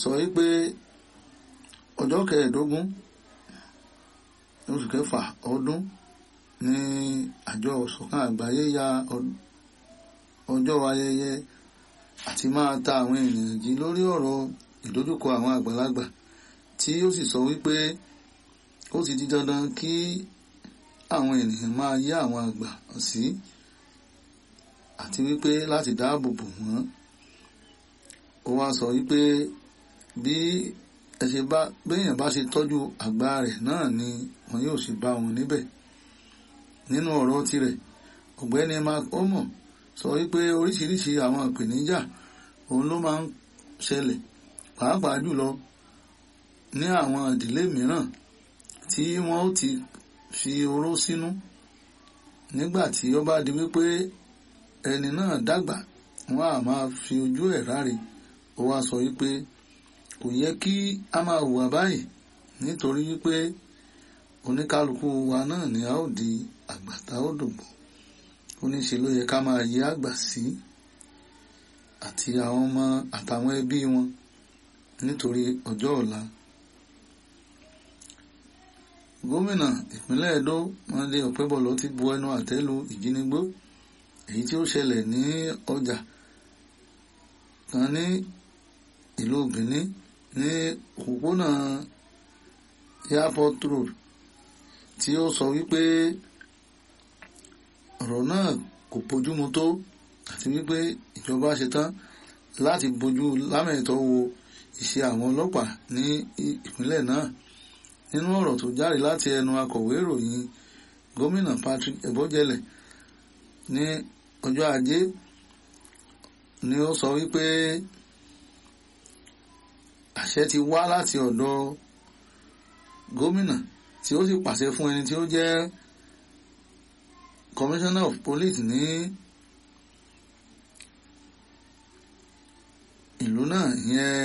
Sọ wípé ọjọ́ 25 oṣù kẹfà ọdún ní àjọ ìṣọ̀kan àgbáyé ya ọjọ́ ayẹyẹ àti máa ta àwọn ènìyàn jí lórí ọ̀rọ̀ ìdojúkọ àwọn àgbàlagbà, tí ó sì sọ wípé ó ti di dandan kí àwọn ènìyàn máa yá àwọn àgbà sí àti wípé láti dáàbò bò wọ́n. Ó wá sọ wípé bí ẹ ṣe bá béèyàn bá ṣe tọ́jú àgbà rẹ̀ náà ni wọn yóò ṣe bá wọn níbẹ̀. Nínú ọ̀rọ̀ tirẹ̀, ọ̀gbẹ́ni Mark Omo sọ wípé oríṣiríṣi àwọn ìpèníjà òun ló máa ń ṣẹlẹ̀, pàápàá jùlọ ní àwọn ìdílé mìíràn tí wọ́n ó ti fi oró sínú. Nígbà tí ó bá di wípé ẹni náà dàgbà, wọ́n á máa fi ojú ẹ̀ ráre. Ó wá sọ wípé kò yẹ kí a máa hùwà báyìí nítorí wípé oníkálukú wa náà ni a ó di àgbà tá ó dògbò. Ó ní ṣe ló yẹ ká máa yẹ àgbà sí àti àwọn ọmọ àtàwọn ẹbí wọn nítorí ọjọ́ ọ̀la. Gómìnà ìpínlẹ̀ Edo Monday Okpebholo ti bu ẹnu àtẹ́ lu ìjínigbó èyí tí ó ṣẹlẹ̀ ní ọjà kan ní ìlú Benin ní òpópónà Airport Road, tí ó sọ wípé ọ̀rọ̀ náà kò bójúmu tó àti wípé ìjọba ṣetán láti bójú lámẹ̀tọ́ wo iṣẹ́ àwọn ọlọ́pàá ní ìpínlẹ̀ náà. Nínú ọ̀rọ̀ tó jáde láti ẹnu akọ̀wé ìròyìn gómìnà Patrick Ebojele ní ọjọ́ Ajé ni ó sọ wípé àṣẹ ti wá láti ọ̀dọ̀ gómìnà tí ó sì pàṣẹ fún ẹni tí ó jẹ́ commissioner of police ní ìlú náà, ìyẹn